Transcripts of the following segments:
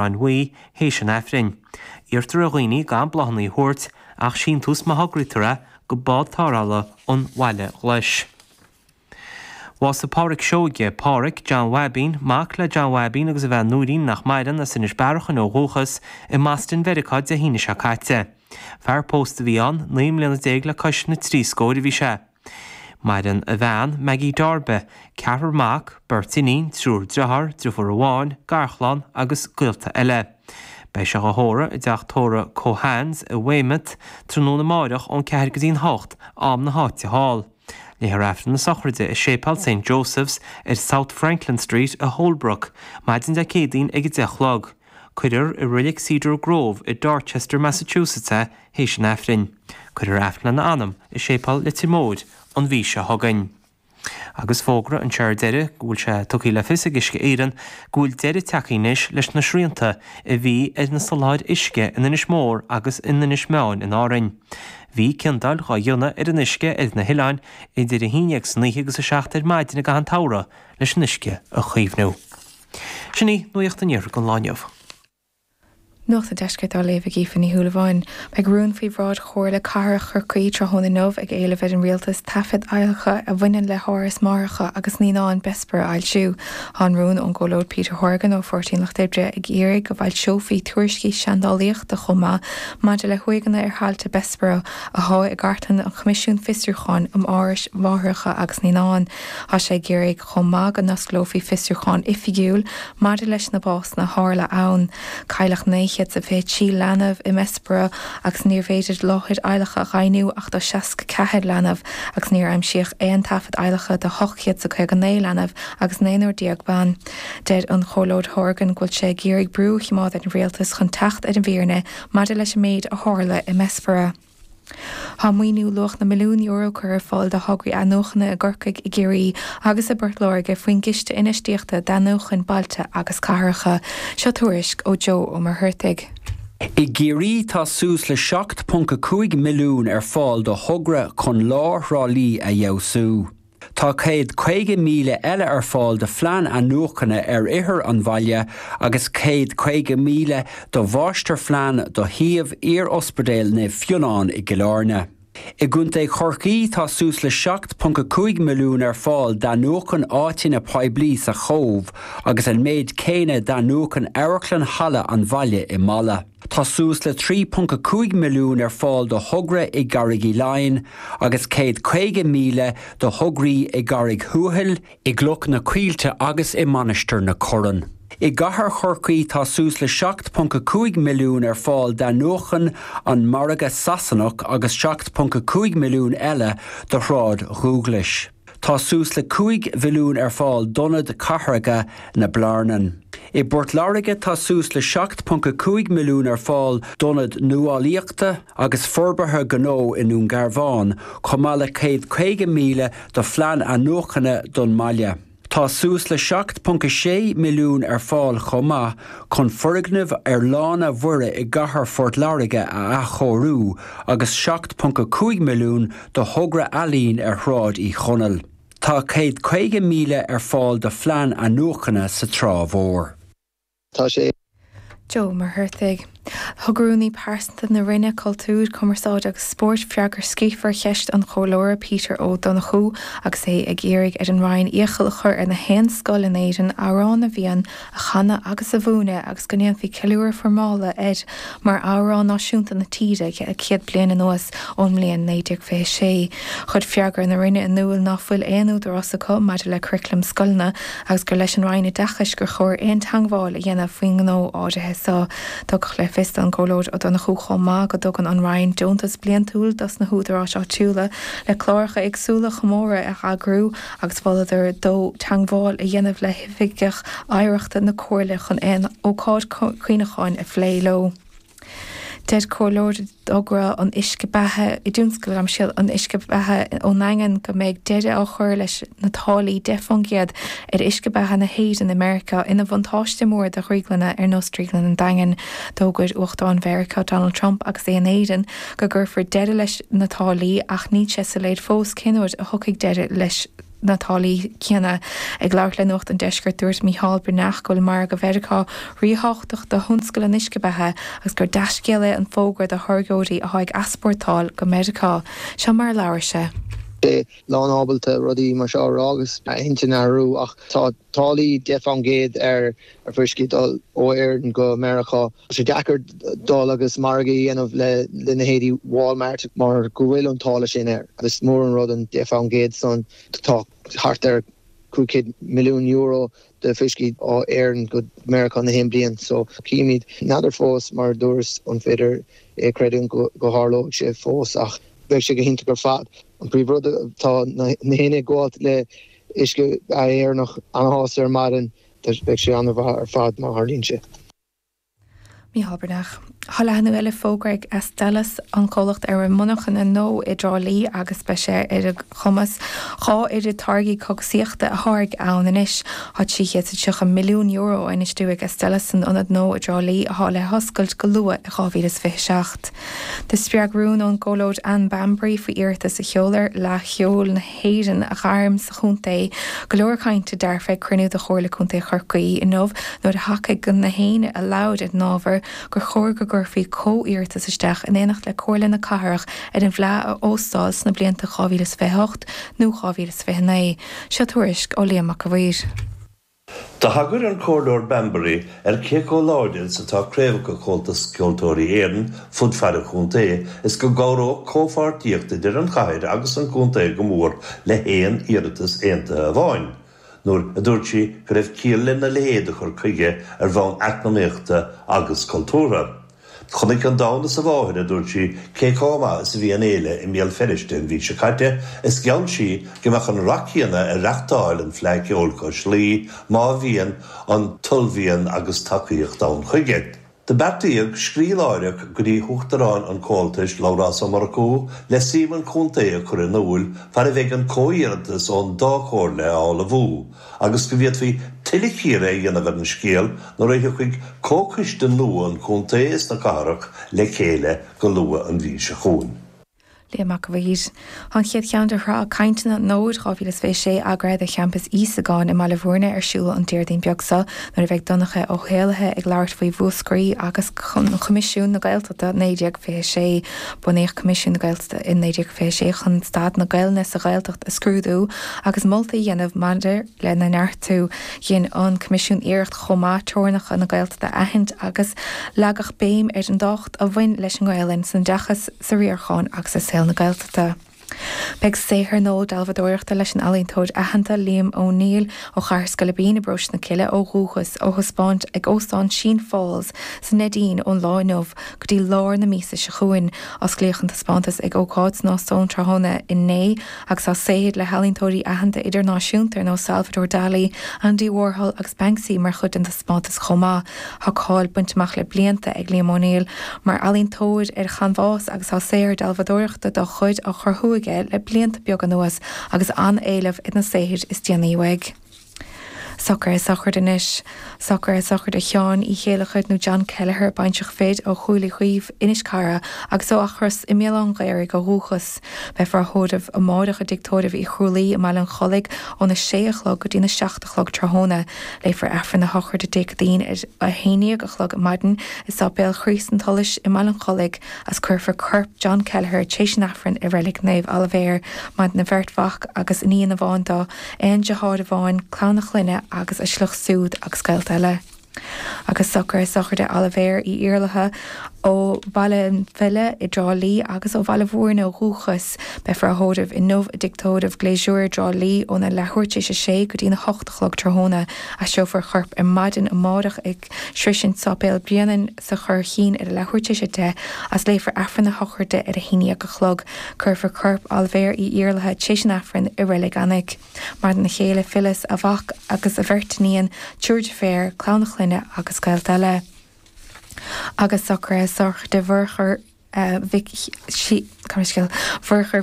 Bhráin Bhuí théis an Aifrinn. Iarrtar ar dhaoine gan bláthanna a thabhairt ach síntiús má thograítear é go Bád Tarrthála an Bhaile Ghlais. Bhásaigh Pádhraic Seoige, Pádhraic, John Bhaibín, mac le John Bhaibín agus a bhean Nóirín nach maireann, as Inis Bearachain ó dhúchas, i mBoston Mheiriceá Dé hAoine seo caite. Fear pósta a bhí ann, 19 mbliana le cois na dtrí scóir a bhí sé. Maireann a bhean, Maggie Darby, ceathrar mac, beirt iníon, triúr driotháir, driofúr amháin, garchlann agus gaolta eile. Beidh sé dhá thórramh i dteach tórraimh Keohane's i Weymouth tráthnóna amáireach ón 4 go dtí'n 8, am na háite thall. Léifear Aifreann na sochraide i Séipéal St Joseph's ar South Franklin Street i Holbrook maidin Dé Céadaoin ag 10 a chlog. Cuirfear i Reilig Cedar Grove i Dorchester, Massachusetts é théis an Aifrinn. Cuirfear Aifreann lena anam i Séipéal Leitir Móir an mhí seo chugainn. Agus fógra anseo ar deireadh go bhfuil sé tugtha le fios ag Uisce Éireann go bhfuil deireadh tagtha anois leis na srianta a bhí ar na soláthair uisce in Inis Mór agus in Inis Meáin in Árainn. Bhí ciondáil dhá dhéanamh ar an uisce ar na hoileáin idir 11 san oíche agus 7 ar maidin i gcaitheamh an tsamhraidh leis an uisce a chaomhnú. Sin í Nuacht an Iarthair don lá inniu. Nuacht an Deiscirt á léamh ag Aoife Ní Shúilleabháin. Beidh rún faoi bhráid Chomhairle Cathrach Chorcaí tráthnóna inniu ag éileamh ar an Rialtas taifid adhlactha a bhaineann le hÁras Máithreacha agus Naíonán Bessborough a fhoilsiú. Tá an rún ón gComhairleoir Peter Horgan ó Pháirtí an Lucht Oibre ag iarraidh go bhfoilseofaí tuairiscí seandálaíochta chomh maith maidir le huaigheanna ar thailte Bessborough athá i gcartlann an Choimisiúin Fiosrúcháin um Árais Mháithreacha agus Naíonán. Tá sé ag iarraidh chomh maith go n-osclófaí fiosrúchán oifigiúil maidir leis na básanna a tharla ann. Cailleadh 923 leanbh i mBessborough agus níorbh fhéidir láthair adhlactha a dheimhniú ach do 64 leanbh agus níor aimsíodh aon taifead adhlactha do 859 leanbh agus naonúr déag ban. Deir an Comhairleoir Horgan go bhfuil sé ag iarraidh brú a choimeád ar an rialtas chun teacht ar an bhfírinne maidir leis an méid a tharla i mBessborough. Tá maoiniú luach na milliún euro curtha ar fáil do thograí athnuachana i gCorcaigh, i gCiarraí agus i bPort Láirge faoin gCiste Infheistíochta d'Athnuachan Bailte agus Cathracha. Seo tuairisc ó Joe Ó Muircheartaigh. I gCiarraí tá suas le 7.5 milliún ar fáil do thogra chun lár Thrá Lí a fheabhsú. Tá 150,000 eile ar fáil do phlean athnuachana ar ithir an bhaile agus 150,000 do mháistirphlean do shuíomh iar-Ospidéal Naomh Fionnán i gCill Airne. I gContae Chorcaí tá suas le 7.5 milliún ar fáil d'athnuachan áiteanna poiblí sa Chóbh agus an méid céanna d'athnuachan Amharclann Halla an Bhaile i Mala. Tá suas le 3.5 milliún ar fáil do thogra i gCarraig Uí Leighin agus 150,000 do thograí i gCarraig Thuathail, i gCloch na Coillte agus i Mainistir na Corann. I gCathair Chorcaí tá suas le 7.5 milliún ar fáil d'athnuachan an Margadh Sasanach agus 7.5 milliún eile do Shráid Dhúghlais. Tá suas le 5 mhilliún ar fáil d'Ionad Cathartha na Blarnan. I bPort Láirge tá suas le 7.5 milliún ar fáil d'Ionad Nuálaíochta agus Forbartha Gnó i nDún Garbhán, chomh maith le 150,000 do phlean athnuachana don mbaile. Tá suas le 7.6 milliún ar fáil chomh maith chun foirgneamh ar Lána Mhuire i gcathair Phort Láirge a athchóiriú agus 7.5 milliún do thogra ealaíon ar Shráid Uí Chonaill. Tá 150,000 ar fáil do phlean athnuachana sa Trá Mhór. Tá sé. Joe Ó Muircheartaigh. Thug Rúnaí Pearsanta na Roinne Cultúir, Cumarsáide agus Spóirt freagra scríofa ar cheist an Chomhairleora Peter Ó Donnchú agus é ag iarraidh ar an Roinn iachall a chur ar na haon scoil in Éirinn Amhrán na bhFiann a chanadh agus a mhúineadh agus go ndéanfaí ceiliúradh foirmeálta air mar amhrán náisiúnta na tíre le 100 bliain anuas ón mbliain 1926. Chuir freagra na Roinne in iúl ná fuil aon údarás acu maidir le curaclam scoileanna agus gur leis an Roinn Oideachais gur chóir aon teangmháil a dhéanamh faoin ngnó áirithe so. Tugadh le fios don gComhairleoir Ó Donnchú chomh maith go dtugann an Roinn deontas bliantúil dos na húdaráis áitiúla le cláracha éagsúla chomóradh a eagrú agus mholadar dó teangmháil a dhéanamh le hoifigeach oidhreachta na Comhairle chun aon ócáid cuimhneacháin a phlé leo. Deir comhairleoir i dtogra an uisce beatha i dtionscal gabh mo leithscéal an uisce beatha ón nDaingean go mbeidh deireadh á chur leis na táillí 10% ar uisce beatha na hÉireann i Meiriceá ina bhuntáiste mór do dhrioglanna ar nós Drioglann an Daingin. D'fhógair Uachtarán Mheiriceá Donald Trump agus é in Éirinn go gcuirfear deireadh leis na táillí ach níl sé soiléir fós cén uair a thiocfaidh deireadh leis. na táillí céanna. Ag labhairt le Nuacht an Deiscirt, dúirt Mícheál Breathnach go bhfuil margadh Mheiriceá ríthábhachtach do thionscal an uisce beatha agus gur dea-scéal é an fógra do tháirgeoirí atá ag easpórtáil go Meiriceá. Seo mar a labhair sé. sé lán ábalta rudaí mar seo a rá agus a intinn a athrú ach tá táillí 10% ar fuiscí dul ó Éirinn go Meiriceá. Tá sé deacair dul agus margadh a dhéanamh le leithéidí Walmart mar go bhfuil an táille sin air. Is mór an rud an 10% san. Tá thart ar €500 milliún de fuiscí ó Éirinn go Meiriceá na haon bliain so címid. N'fheadar fós mar a dúras an féidir é a chreidiúint go tharlóidh sé fós ach bheadh sé go hiontach ar fad. An príomh rud tá na héinne ag gabháilt le uisce Éireannach ana-shásta ar maidin beidh sé ana-mhaith ar fad má tharlaíonn sé. Mícheál Breathnach. Tá leathnú eile fógartha ag Astellas, an comhlacht ar a bhfuil monarchana nua i dTrá Lí agus beidh sé ar a chumas 2 oiread táirgí cógaisíochta a tháirgeadh ann anois. Tá €330 milliún á infheistiú ag Astellas san ionad nua i dTrá Lí atá le hoscailt go luath i 2027. Do spreag rún ón gComhairleoir Anne Bambury faoi iarratas a sheoladh ar Fhleadh Cheoil na hÉireann a ghairm sa chontae go leor cainte dearfa ag cruinniú de Chomhairle Contae Chorcaí inniu nuair a thacaigh na héinne a labhair ar an ábhar gur chóir go gcuirfí comhiarratas isteach in éineacht le Comhairle na Cathrach ar an bhFleadh a óstáil sna blianta 2028 nó 2029. Seo tuairisc ó Liam Mac a' Mhaoir. Do thagair an Comhairleoir Bambury ar cé chomh láidir is atá craobhacha Chomhaltas Ceoltóirí Éireann fud fad an chontae is go gcabhródh comhpháirtíocht idir an chathair agus an contae go mór le haon iarratas aontaithe amháin, nuair a dúirt sí go raibh ciall lena leithéid de chur chuige ar bhonn eacnamaíochta agus cultúrtha. Chonaic an domhan is a mháthair, a dúirt sí, cé chomh maith is a bhí an fhéile i mBéal Feirste an mhí seo caite is gheall sí go mbeadh an rath céanna ar reachtáil an Fleadh Cheoil cois Laoi má bhíonn an t-ullmhian agus tacaíocht ann chuige. Do beartaíodh scríobh láithreach go dtí hUachtarán an Chomhaltais, Labhrás Ó Murchú, le suim an chontae a chur in iúil far a bheidh an comhiarratas ón dá chomhairle á ullmhú. agus go bhféadfaí tuilleadh cíoradh a dhéanamh ar an scéal nuair a thiocfaidh comhchoiste nua an chontae is na cathrach le chéile go luath an mhí seo chugainn. Liam Mac a' Mhaoir. Tá an chéad cheann de shraith cainteanna an Fhóid 2026 eagraithe do Champas Íosagáin i mBaile Bhúirne ar siúl an Déardaoin beag seo nuair a bheidh Donncha Ó hÉallaithe ag labhairt faoi Mhúscraí agus Coimisiún na Gaeltachta 1926. Bunaíodh Coimisiún na Gaeltachta i 1926 chun staid na Gaelainne sa Ghaeltacht a scrúdú agus moltaí a dhéanamh maidir lena neartú. Dhein an Coimisiún iarracht chomh maith teorainneacha na Gaeltachta a aithint agus leagadh béim ar an dtábhacht a bhain leis an nGaelainn san oideachas, sa riarachán agus i saol na Gaeltachta. Beidh saothar nua dealbhadóireachta leis an ealaíontóir aitheanta Liam O'Neill ó Chathair Scoilipín i bparóiste na Cille ó dhúchas á thaispeáint ag Óstán Sheen Falls sa Neidín ón lá inniu go dtí lár na míosa seo chugainn. Osclaíodh an taispeántas ag ócáid san óstán tráthnóna inné agus tá saothair le healaíontóirí aitheanta idirnáisiúnta ar nós Salvador Dali, Andy Warhol agus Banksy mar chuid den taispeántas chomh maith. Tá cáil bainte amach le blianta ag Liam O'Neill mar ealaíontóir ar chanbhás agus tá saothar dealbhadóireachta dá chuid á chruthú aige le blianta beaga anuas agus an-éileamh ar na saothair is déanaí uaidh. Socruithe sochraide anois. Socruithe sochraide Sheáin Uí Chéilleachair nó John Kelleher, baintreach fir ó Chúil Uí Chaoimh, Inis Cara, agus ó Eachros i mBéal Átha an Ghaorthaidh ó dhúchas. Beifear á thórramh amáireach i dTigh Tórraimh Uí Chrualaoi i mBaile an Chollaigh óna sé a chlog go dtína 7 a chlog tráthnóna. Léifear Aifreann na sochraide Dé Céadaoin ar a 11 a chlog maidin i Sáipéal Chríost an tSolais i mBaile an Chollaigh as cuirfear corp John Kelleher tar éis an Aifrinn i Reilig Naomh Oilibhéar. Maireann a bheirt mhac agus iníon amháin dó. Aon deartháir amháin, clann a chlainne agus a shliocht siúd agus gaolta eile. Agus socruithe sochraide Oilibhéir Uí Iarlaithe ó Bhaile an Bhile i dTrá Lí agus ó Bhaile Bhúirne ó dhúchas. Beifear á thórramh inniu i dTigh Tórraimh Glaisure i dTrá Lí óna leathuair tar éis a sé go dtína hocht a chlog tráthnóna. Aistreofar a chorp ar maidin amárach ag sroisint Sáipéal Bhréanainn sa Churraichín ar a leathuair tar éis a 10 as léifear Aifreann na sochraide ar a 11 a chlog. Cuirfear corp Oilibhéir Uí Iarlaithe tar éis an Aifrinn i Reilig Eanaigh. Maireann a chéile Phyllis, a mhac agus a bheirt iníon, triúr deirféar, clann a chlainne agus gaolta eile. Agus socruithe sochraide Mhurchadh. Mhic Mhurchadh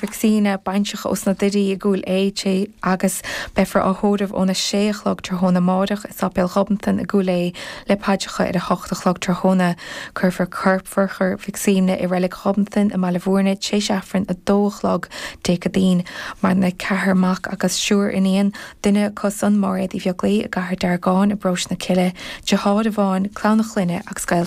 Mhic Suibhne, baintreach ós na Doirí i gCúil Aodha, agus beifear á thórramh óna sé a chlog tráthnóna amáireach i Sáipéal Ghobnatan i gCúil Aodha le paidreacha ar a hocht a chlog tráthnóna. Cuirfear corp Mhurchadh Mhic Suibhne i Reilig Ghobnatan i mBaile Bhúirne t'éis Aifreann 2 a chlog Dé Céadaoin. Maireann ceathrar mac agus triúr iníon, duine acu san Máiréad Uí Bheaglaoi i gCathair Deargáin i bParóiste na Cille, deartháir amháin, clann a chlainne agus gaolta.